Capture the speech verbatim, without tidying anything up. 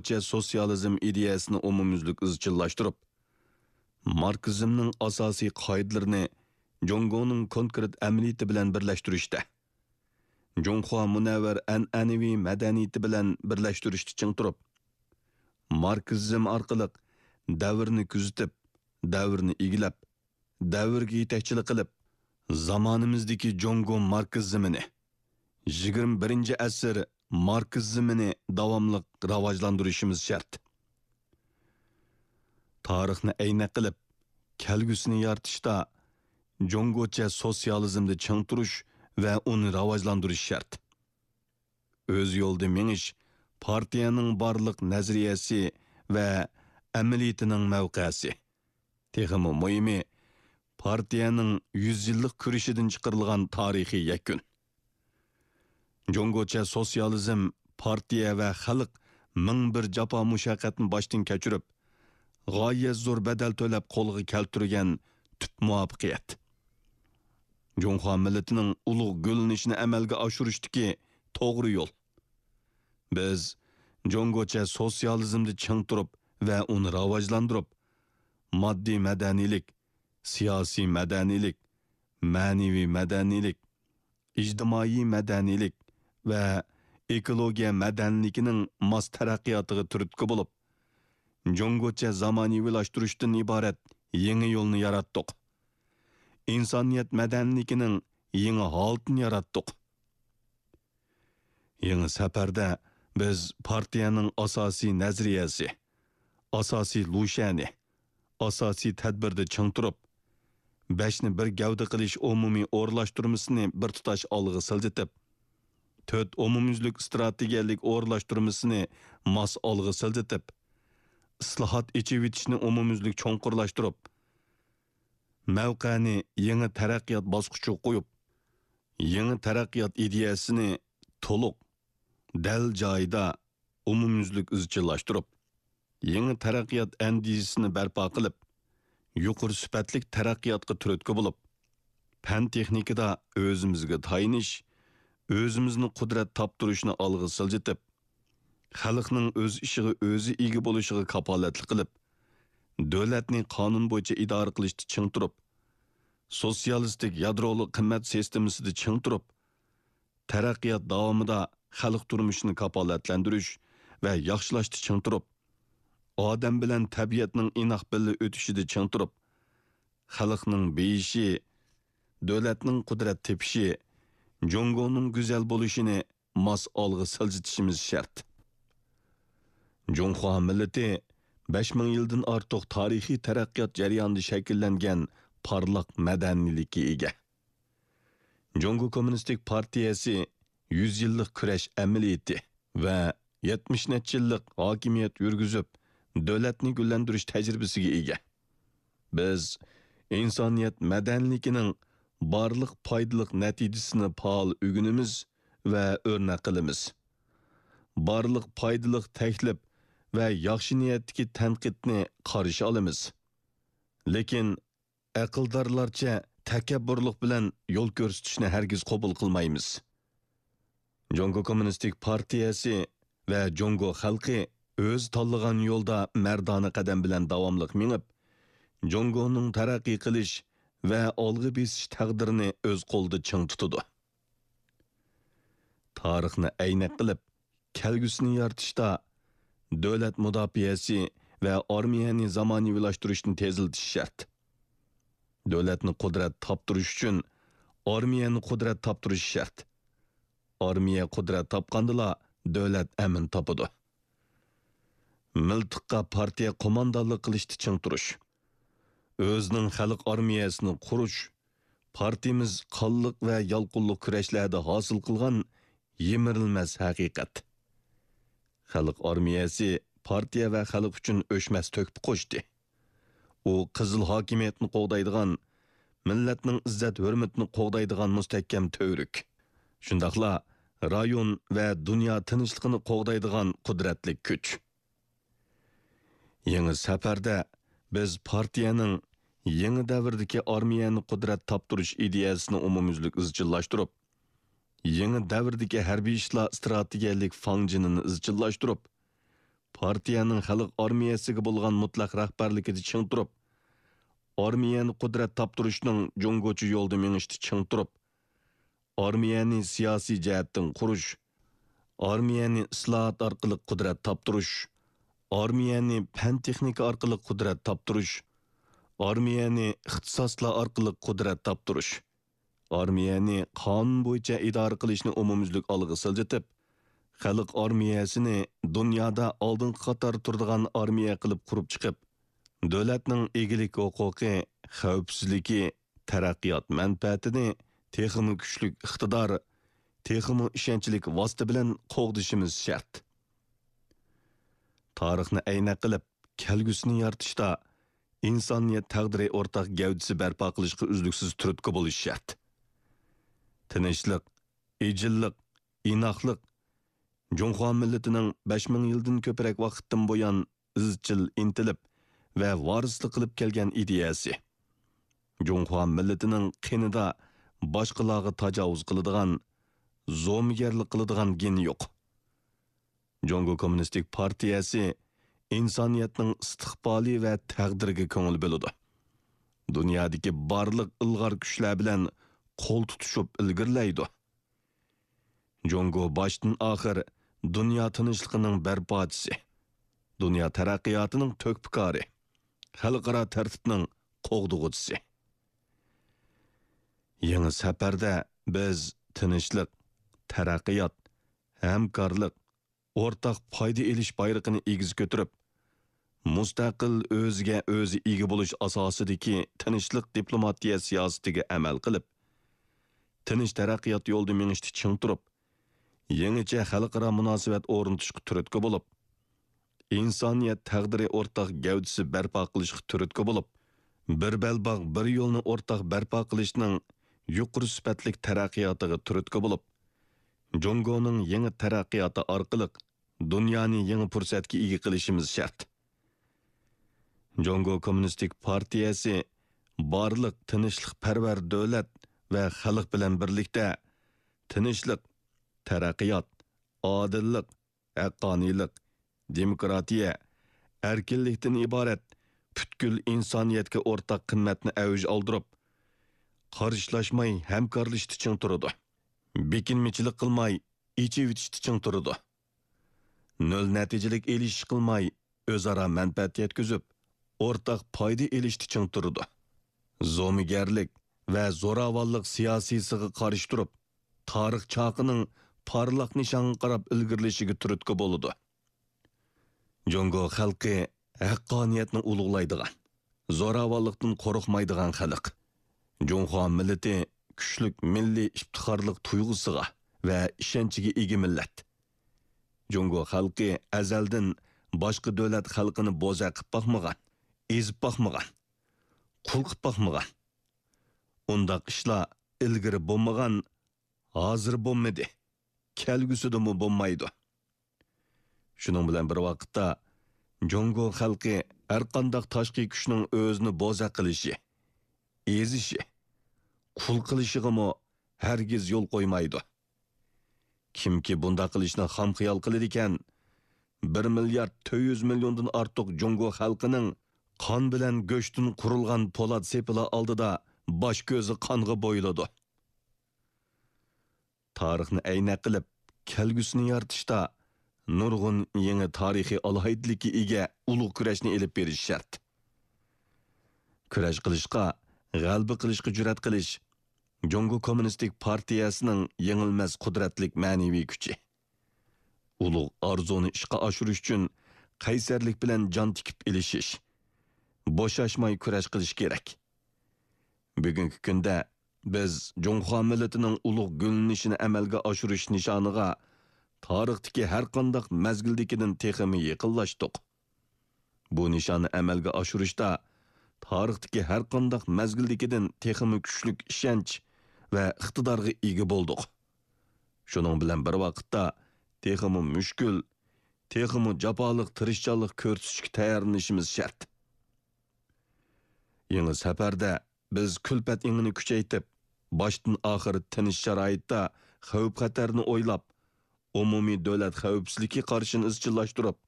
جۇڭگوچە سوتسىيالىزم ئىدىيەسىنى ئومۇميۈزلۈك ئىزچىللاشتۇرۇپ، ماركسىزمنىڭ ئاساسىي قائىدىلىرىنى جۇڭگونىڭ كونكرېت ئەمەلىيىتى بىلەن بىرلەشتۈرۈشتە، جۇڭخۇا مۇنەۋۋەر ئەنئەنىۋى مەدەنىيىتى بىلەن بىرلەشتۈرۈشتە چىڭ تۇرۇپ، ماركسىزم ئارقىلىق دەۋرنى كۆزىتىپ، دەۋرنى ئىگىلەپ، دەۋرگە يېتەكچىلىك قىلىپ، زامانىمىزدىكى جۇڭگو ماركسىزمىنى، يىگىرمە بىرىنچى ئەسىر ماركسىزمىنى داۋاملىق راۋاجلاندۇرۇشىمىز شەرت. تارىخنى ئەينەك قىلىپ، كەلگۈسىنى يارىتىشتا جۇڭگوچە سوتسىيالىزمدا چىڭ تۇرۇش ۋە ئۇنى راۋاجلاندۇرۇش شەرت. ئۆز يولىدا مېڭىش پارتىيەنىڭ بارلىق نەزەرىيەسى ۋە ئەمەلىيىتىنىڭ مەۋقەسى. تېخىمۇ مۇھىمى، پارتىيەنىڭ يۈز يىللىق كۈرىشىدىن چىقىرىلغان تارىخىي يەكۈن. جۇڭگوچە سوتسىيالىزم پارتىيە ۋە خەلق مىڭ بىر جاپا مۇشەققەتنى باشتىن كەچۈرۈپ، غايەت زور بەدەل تۆلەپ قولغا كەلتۈرگەن تۈپ مۇۋەپپەقىيەت. جۇڭخۇا مىللىتىنىڭ ئۇلۇغ گۈللىنىشىنى ئەمەلگە ئاشۇرۇشتىكى توغرا يول. بىز جۇڭگوچە سوتسىيالىزمدا چىڭ تۇرۇپ ۋە ئۇنى راۋاجلاندۇرۇپ، ماددىي مەدەنىيلىك، سىياسىي مەدەنىيلىك، مەنىۋى مەدەنىيلىك، ئىجتىمائىي مەدەنىيلىك ۋە ئېكولوگىيە مەدەنىيلىكىنىڭ ماس تەرەققىياتىغا تۈرتكە بولۇپ، جۇڭگوچە زامانىۋىلاشتۇرۇشتىن ئىبارەت يېڭى يولنى ياراتتۇق. ئىنسانىيەت مەدەنىيلىكىنىڭ يېڭى ھالىتىنى ياراتتۇق. يېڭى سەپەردە بىز پارتىيەنىڭ ئاساسىي نەزەرىيەسى، ئاساسىي لۇشيەنى، ئاساسىي تەدبىردە چىڭ تۇرۇپ، بەشنى بىر گەۋدە قىلىش ئومۇمىي ئورۇنلاشتۇرمىسىنى بىر تۇتاش ئالغا سىلجىتىپ، تۆت ئومۇميۈزلۈك ئىستراتېگىيەلىك ئورۇنلاشتۇرمىسىنى ماس ئالغا سىلجىتىپ، ئىسلاھات، ئېچىۋېتىشنى ئومۇميۈزلۈك چوڭقۇرلاشتۇرۇپ، مەۋقەنى يېڭى تەرەققىيات باسقۇچىغا قويۇپ، يېڭى تەرەققىيات ئىدىيەسىنى تولۇق، دەل جايىدا، ئومۇميۈزلۈك ئىزچىللاشتۇرۇپ، يېڭى تەرەققىيات ئەندىزىسىنى بەرپا قىلىپ، يۇقىرى سۈپەتلىك تەرەققىياتقا تۈرتكە بولۇپ، پەن-تېخنىكىدا ئۆزىمىزگە تايىنىش، ئۆزىمىزنى قۇدرەت تاپتۇرۇشنى ئالغا سىلجىتىپ، خەلقنىڭ ئۆز ئىشىغا ئۆزى ئىگە بولۇشىغا كاپالەتلىك قىلىپ، دۆلەتنى قانۇن بويىچە ئىدارە قىلىشتا چىڭ تۇرۇپ، سوتسىيالىستىك يادرولۇق قىممەت سىستېمىسىدا چىڭ تۇرۇپ، تەرەققىيات داۋامىدا خەلق تۇرمۇشىنى كاپالەتلەندۈرۈش ۋە ياخشىلاشتا چىڭ تۇرۇپ، ئادەم بىلەن تەبىئەتنىڭ ئىناق بىللە ئۆتۈشىدە چىڭ تۇرۇپ، خەلقنىڭ بېيىشى، دۆلەتنىڭ قۇدرەت تېپىشى، جۇڭگونىڭ گۈزەل بولۇشىنى ماس ئالغا سىلجىتىشىمىز شەرت. جۇڭخۇا مىللىتى بەش مىڭ يىلدىن ئارتۇق تارىخىي تەرەققىيات جەريانىدا شەكىللەنگەن پارلاق مەدەنىيلىككە ئىگە. جۇڭگو كوممۇنىستىك پارتىيەسى يۈز يىللىق كۈرەش ئەمەلىيىتى ۋە يەتمىش نەچچە يىللىق ھاكىمىيەت يۈرگۈزۈپ، دۆلەتنى گۈللەندۈرۈش تەجرىبىسىگە ئىگە. بىز ئىنسانىيەت مەدەنىيلىكىنىڭ بارلىق پايدىلىق نەتىجىسىنى پائال ئۆگىنىمىز ۋە ئۆرنەك قىلىمىز. بارلىق پايدىلىق تەكلىپ ۋە ياخشى نىيەتتىكى تەنقىدنى قارشى ئالىمىز. لېكىن ئەقىلدارلارچە تەكەببۇرلۇق بىلەن يول كۆرسىتىشنى ھەرگىز قوبۇل قىلمايمىز. جۇڭگو كوممۇنىستىك پارتىيەسى ۋە جۇڭگو خەلقى ئۆزى تاللىغان يولدا مەردانە قەدەم بىلەن داۋاملىق مېڭىپ، جۇڭگونىڭ تەرەققىي قىلىش ۋە ئالغا بېسىش تەقدىرىنى ئۆز قولىدا چىڭ تۇتىدۇ. تارىخنى ئەينەك قىلىپ، كەلگۈسىنى يارىتىشتا دۆلەت مۇداپىئەسى ۋە ئارمىيەنى زامانىۋىلاشتۇرۇشنى تېزلىتىش شەرت. دۆلەتنى قۇدرەت تاپتۇرۇش ئۈچۈن ئارمىيەنى قۇدرەت تاپتۇرۇش شەرت. ئارمىيە قۇدرەت تاپقاندىلا دۆلەت ئەمىن تاپىدۇ. مىلتىققا پارتىيە قوماندانلىق قىلىشتا چىڭ تۇرۇش. ئۆزىنىڭ خەلق ئارمىيەسىنى قۇرۇش، پارتىيىمىز قانلىق ۋە يالقۇنلۇق كۈرەشلەردە ھاسىل قىلغان يىمىرىلمەس ھەقىقەت. خەلق ئارمىيەسى پارتىيە ۋە خەلق ئۈچۈن ئۆچمەس تۆھپە قوشتى. ئۇ قىزىل ھاكىمىيەتنى قوغدايدىغان، مىللەتنىڭ ئىززەت-ھۆرمىتىنى قوغدايدىغان مۇستەھكەم تۈۋرۈك، شۇنداقلا رايون ۋە دۇنيا تىنچلىقىنى قوغدايدىغان قۇدرەتلىك كۈچ. يېڭى سەپەردە بىز پارتىيەنىڭ يېڭى دەۋردىكى ئارمىيەنى قۇدرەت تاپتۇرۇش ئىدىيەسىنى ئومۇميۈزلۈك ئىزچىللاشتۇرۇپ، يېڭى دەۋردىكى ھەربىي ئىشلار ئىستراتېگىيەلىك فاڭجېنىنى ئىزچىللاشتۇرۇپ، پارتىيەنىڭ خەلق ئارمىيەسىگە بولغان مۇتلەق رەھبەرلىكىدە چىڭ تۇرۇپ، ئارمىيەنى قۇدرەت تاپتۇرۇشنىڭ جۇڭگوچە يولدا مېڭىشتا چىڭ تۇرۇپ، ئارمىيەنى سىياسىي جەھەتتىن قۇرۇش، ئارمىيەنى ئىسلاھات ئارقىلىق قۇدرەت تاپتۇرۇش، ئارمىيەنى پەن-تېخنىكا ئارقىلىق قۇدرەت تاپتۇرۇش، ئارمىيەنى ئىختىساسلار ئارقىلىق قۇدرەت تاپتۇرۇش، ئارمىيەنى قانۇن بويىچە ئىدارە قىلىشنى ئومۇميۈزلۈك ئالغا سىلجىتىپ، خەلق ئارمىيەسىنى دۇنيادا ئالدىنقى قاتاردا تۇرىدىغان ئارمىيە قىلىپ قۇرۇپ چىقىپ، دۆلەتنىڭ ئىگىلىك ھوقۇقى، خەۋپسىزلىكى، تەرەققىيات مەنپەئەتىنى تېخىمۇ كۈچلۈك ئىقتىدار، تېخىمۇ ئىشەنچلىك ۋاسىتە بىلەن قوغدىشىمىز شەرت. تارىخنى ئەينەك قىلىپ، كەلگۈسىنى يارىتىشتا ئىنسانىيەت تەقدىرى ئورتاق گەۋدىسى بەرپا قىلىشقا ئۈزلۈكسىز تۈرتكە بولۇش شەرت. تىنچلىق، ئىجىللىق، ئىناقلىق جۇڭخۇا مىللىتىنىڭ بەش مىڭ يىلدىن كۆپرەك ۋاقىتتىن بۇيان ئىزچىل ئىنتىلىپ ۋە ۋارىسلىق قىلىپ كەلگەن ئىدىيەسى. جۇڭخۇا مىللىتىنىڭ قېنىدا باشقىلارغا تاجاۋۇز قىلىدىغان، زومىگەرلىك قىلىدىغان گېنى يوق. جۇڭگو كوممۇنىستىك پارتىيەسى ئىنسانىيەتنىڭ ئىستىقبالى ۋە تەقدىرىگە كۆڭۈل بۆلىدۇ. دۇنيادىكى بارلىق ئىلغار كۈچلەر بىلەن قول تۇتۇشۇپ ئىلگىرىلەيدۇ. جۇڭگو باشتىن ئاخىر دۇنيا تىنچلىقىنىڭ بەرپاچىسى، دۇنيا تەرەققىياتىنىڭ تۆھپىكارى، خەلقئارا تەرتىپنىڭ قوغدىغۇچىسى. يېڭى سەپەردە بىز تىنچلىق، تەرەققىيات، ھەمكارلىق، ئورتاق پايدا ئېلىش بايرىقىنى ئېگىز كۆتۈرۈپ، مۇستەقىل، ئۆزىگە ئۆزى ئىگە بولۇش ئاساسىدىكى تىنچلىق دىپلوماتىيە سىياسىتىگە ئەمەل قىلىپ، تىنچ تەرەققىيات يولىدا مېڭىشتا چىڭ تۇرۇپ، يېڭىچە خەلقئارا مۇناسىۋەت ئورنىتىشقا تۈرتكە بولۇپ، ئىنسانىيەت تەقدىرى ئورتاق گەۋدىسى بەرپا قىلىشقا تۈرتكە بولۇپ، بىر بەلباغ، بىر يولنى ئورتاق بەرپا قىلىشنىڭ يۇقىرى سۈپەتلىك تەرەققىياتىغا تۈرتكە بولۇپ، جۇڭگونىڭ يېڭى تەرەققىياتى ئارقىلىق دۇنيانى يېڭى پۇرسەتكە ئىگە قىلىشىمىز شەرت. جۇڭگو كوممۇنىستىك پارتىيەسى بارلىق تىنچلىقپەرۋەر دۆلەت ۋە خەلق بىلەن بىرلىكتە تىنچلىق، تەرەققىيات، ئادىللىق، ھەققانىيلىق، دېموكراتىيە، ئەركىنلىكتىن ئىبارەت پۈتكۈل ئىنسانىيەتكە ئورتاق قىممەتنى ئەۋج ئالدۇرۇپ، قارشىلاشماي ھەمكارلىشىشتا چىڭ تۇرىدۇ. بېكىنمىچىلىك قىلماي ئېچىۋېتىشتا چىڭ تۇرىدۇ. نۆل نەتىجىلىك ئېلىشىش قىلماي، ئۆزئارا مەنپەئەت يەتكۈزۈپ، ئورتاق پايدا ئېلىشتا چىڭ تۇرىدۇ. زومىگەرلىك ۋە زوراۋانلىق سىياسىيسىغا قارشى تۇرۇپ، تارىخ چاقىنىڭ پارلاق نىشانغا قاراپ ئىلگىرىلىشىگە تۈرتكە بولىدۇ. جۇڭگو خەلقى ھەققانىيەتنى ئۇلۇغلايدىغان، زوراۋانلىقتىن قورقمايدىغان خەلق. جۇڭخۇا مىللىتى كۈچلۈك مىللىي ئىپتىخارلىق تۇيغۇسىغا ۋە ئىشەنچىگە ئىگە مىللەت. جۇڭگو خەلقى ئەزەلدىن باشقا دۆلەت خەلقىنى بوزەك قىپ باقمىغان، ئېزىپ باقمىغان، قۇل قىپ باقمىغان. ئۇنداق ئىشلار ئىلگىرى بولمىغان، ھازىر بولمىدى، كەلگۈسىدىمۇ بولمايدۇ. شۇنىڭ بىلەن بىر ۋاقىتتا، جۇڭگو خەلقى ھەرقانداق تاشقى كۈچنىڭ ئۆزىنى بوزەك قىلىشى، ئېزىشى، قۇل قىلىشىغىمۇ ھەرگىز يول قويمايدۇ. كىمكى بۇنداق قىلىشنى خام خىيال قىلىدىكەن، بىر مىليارد تۆت يۈز مىليوندىن ئارتۇق جۇڭگو خەلقىنىڭ قان بىلەن گۆشتىن قۇرۇلغان پولات سېپىلى ئالدىدا باش كۆزى قانغا بويىلىدۇ. تارىخنى ئەينەك قىلىپ، كەلگۈسىنى يارىتىشتا نۇرغۇن يېڭى تارىخىي ئالاھىدىلىككە ئىگە ئۇلۇغ كۈرەشنى ئېلىپ بېرىش شەرت. كۈرەش قىلىشقا، غەلىبە قىلىشقا جۈرئەت قىلىش جۇڭگو كوممۇنىستىك پارتىيەسىنىڭ يېڭىلمەس قۇدرەتلىك مەنىۋى كۈچى. ئۇلۇغ ئارزۇنى ئىشقا ئاشۇرۇش ئۈچۈن قەيسەرلىك بىلەن جان تىكىپ ئېلىشىش، بوشاشماي كۈرەش قىلىش كېرەك. بۈگۈنكى كۈندە بىز جۇڭخۇا مىللىتىنىڭ ئۇلۇغ گۈللىنىشىنى ئەمەلگە ئاشۇرۇش نىشانىغا تارىختىكى ھەرقانداق مەزگىلدىكىدىن تېخىمۇ يېقىنلاشتۇق. بۇ نىشاننى ئەمەلگە ئاشۇرۇشتا تارىختىكى ھەرقانداق مەزگىلدىكىدىن تېخىمۇ كۈچلۈك ئىشەنچ ۋە ئىقتىدارغا ئىگە بولدۇق. شۇنىڭ بىلەن بىر ۋاقىتتا، تېخىمۇ مۈشكۈل، تېخىمۇ جاپالىق تىرىشچانلىق كۆرسىتىشكە تەييارلىنىشىمىز شەرت. يېڭى سەپەردە بىز كۈلپەت ئېڭىنى كۈچەيتىپ، باشتىن ئاخىر تىنچ شارائىتتا خەۋپ-خەتەرنى ئويلاپ، ئومۇمىي دۆلەت خەۋپسىزلىكى قارىشىنى ئىزچىللاشتۇرۇپ،